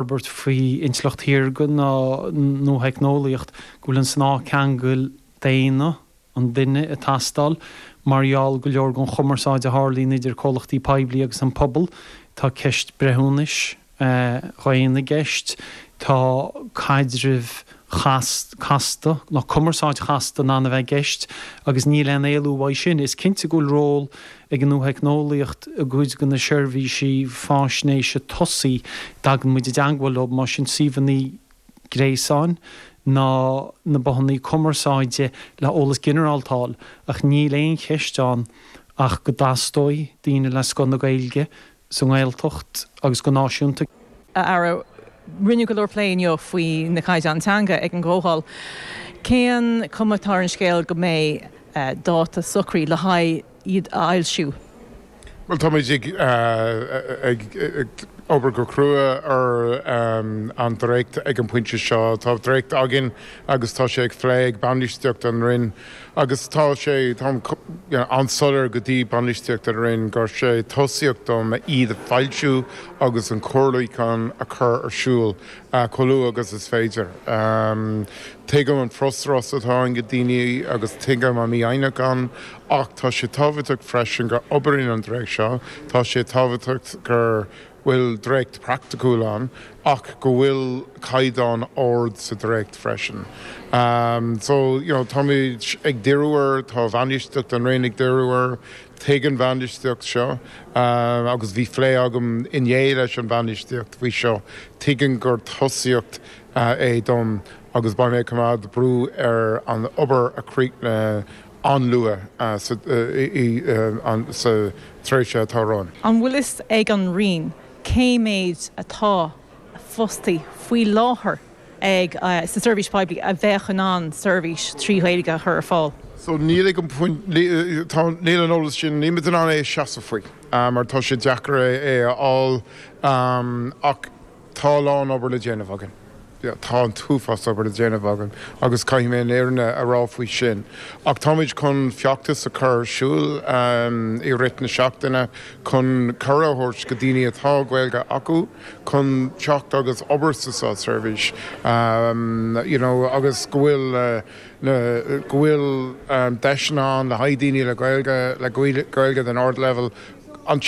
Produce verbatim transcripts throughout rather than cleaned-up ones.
Forbairt faoi intleacht shaorga ná nuatheicneolaíocht, go bhfuil an snáth ceangail daonna, an duine, ag teastáil mar gheall go leor den chumarsáid a tharlaíonn idir comhlachtaí poiblí agus an pobal. Tá ceist breithiúnais dhaonna i gceist, tá caidrimh chasta nó cumarsáid chasta in ann a bheith i gceist agus níl aon éalú uaidh sin. Is cinnte go bhfuil ról ag an nuatheicneolaíocht i gcuid de na seirbhísí faisnéise tosaigh a dtagann muid i dteangmháil leo, más sin suíomhanna gréasáin ná na bothanna cumarsáide le eolas ginearálta a fháil, ach níl aon cheist ann ach go dteastóidh daoine le scoth na Gaeilge sa nGaeltacht agus go náisiúnta. A Aire, rinneadh go leor plé inniu faoi na caighdeáin teanga ag an gcomhdháil. Cén cuma atá ar an scéal go mbeidh dáta socraithe le haghaidh iad a fhoilsiú? Bhuel, táimid ag ag obair go crua ar an dréacht ag an bpointe seo. Tá dréacht againn agus tá sé ag plé ag bainistíocht an Roinn agus tá sé tá an-soiléir go dtí bainistíocht an Roinn gur sé tosaíocht dom iad a foilsiú agus an comhairliúchán a chur ar siúl chomh luath agus is féidir. Tuigim an frustrachas atá ann go daoine agus tuigim an mífhoighneach ann, ach tá sé tábhachtach freisin gur oibríonn an dréacht seo, tá sé tábhachtach gur bhfuil dréacht praiticiúil ann ach go bhfuil caighdeán ard sa dréacht freisin. Um, so you know, táimid ag díriú air, tá bainistíocht an Roinn ag díriú air, tuigeann bainistíocht seo uh, agus bhí plé agam inné leis an bainistíocht faoi seo, tuigeann gur tosaíocht uh, é dom agus beidh mé coimeád brú ar an obair a chríochnú an-luath uh, sa, uh, sa tréimhse atá romhainn. An bhfuil fhios ag an Roinn cé méid atá fostaí faoi láthair ag uh, sa seirbhís poiblí a bheadh in ann seirbhís trí Ghaeilge a chur ar fáil? So níl ag an níl an eolas sin ní an é seasamh faoi, um, mar tá sé deacair é a fháil um, ach tá lán obair le déanamh againn. Tá an t-uafás obair le déanamh againn agus caithfidh mé an fhírinne a rá faoi sin. Ach táimid chun feachtas a chur ar siúl um, i rith na seachtaine chun cuireadh go daoine atá Gaeilge acu chun teacht agus obair sa státseirbhís. Um, you know, agus go bhfuil uh, go bhfuil um, deiseanna ann le haghaidh daoine le Gaeilge le Gaeilge den ardleibhéal an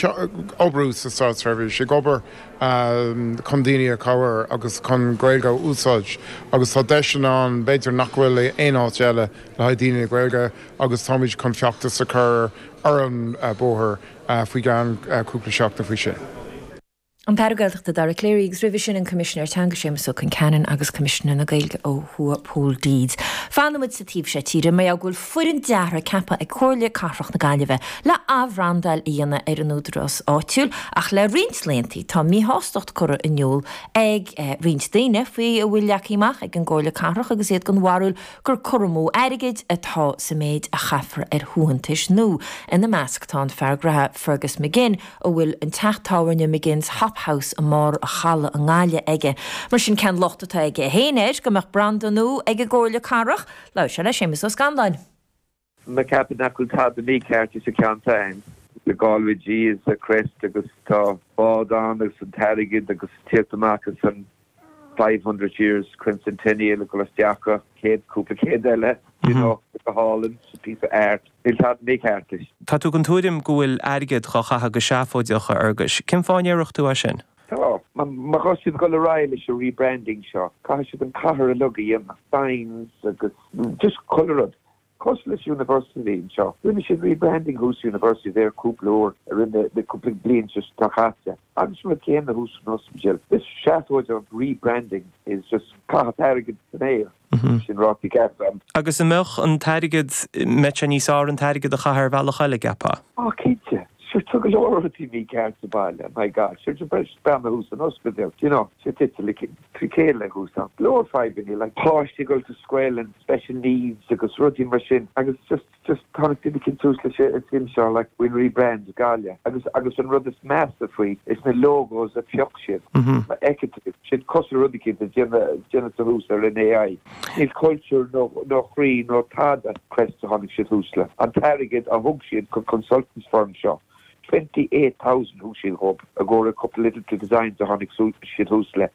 obair sa státseirbhís ag obair um, chun daoine a chabhrú agus chun Gaeilge a úsáid agus tá deiseanna ann b'fhéidir nach bhfuil aon áit eile le haghaidh daoine Gaeilge agus táimid chun feachtas a chur ar an uh, bóthar uh, faoi gan uh, cúpla seachtain faoi sin. An tAire Gaeltachta Dara Calleary agus roimhe sin an Coimisinéir Teanga Séamus Ó Concheanainn agus Coimisinéir na Gaeilge ó thuaidh Pól Deeds. Fanfaimid sa taobh seo tíre mar go bhfuil foireann deartha ceaptha ag Comhairle Cathrach na Gaillimhe le athbhrandáil a dhéanamh ar an údarás áitiúil ach le roinnt laethanta tá míshástacht curtha in iúl ag eh, roinnt daoine faoi a bhfuil leagtha amach ag an gComhairle Cathrach agus iad den bharúil gur cur amú airgid atá sa méid a chaithfear ar shuaitheantais nua. Ina measc tá an fear gnó Fergus McGinn a bhfuil an teach tábhairne McGinn's Hop House i mbarr an chalaidh i nGaillimh aige. Mar sin cén locht atá aige féin air go mbeadh branda nua ag an gComhairle Cathrach, Labhair sé le Séamus Ó Scanláin. Me ceapann nach bhfuil tada mícheart sa cheann the Galway G is a crest agus tá bád ann agus an t-airgead agus tíocht amach agus an five hundred years quincentennial go isteach céad cúpla céad eile you know go hálainn piece of art Níl tada mícheart leis. Tá tú den tuairim go bhfuil airgead á chaitheamh go seafóideach a Fhearghuis. Cén fáth a ndéarfadh tú é sin? Tá má tá siad ag dul ar aghaidh leis an rebranding seo, caithfidh siad an cathair uilig a dhéanamh signs agus just chuile rud. Cosúil leis University seo. Rinne siad rebranding thuas University there cúpla uair a rinne na cúpla bliain seo caite. Agus mar céanna thuas san ospidéal. This seafóid of rebranding is just caitheamh airgead san aer. Sin ráite ceart. Agus an mbeadh an t-airgead mbeadh sé níos fearr an t-airgead a chaitheamh ar bhealach eile ceapfá? Á cinnte. Sure tá go leor rudaí mícheart sa baile, my God, sure de breis beanna thuas an ospidéal, you know, sé tite le trí chéile thuas ann. Leor fadhbanna like páistí go to scoil and special needs agus rudaí mar sin agus just just tháinig duine cinn suas leis an suim seo like faoin rebrand Gaillimh agus agus an rud is measa faoi is na logos a phioc siad. Ma fheiceann tú siad cosúil le rudaí cinn déanta déanta thuas ar an A I. Níl culture nó nó chroí nó tada crest a tháinig siad thuas le. An t-airgead a thug siad go consultants firm seo. twenty-eight thousand thug siad dhób i gcomhair a couple little designs a tháinig siad thuas le.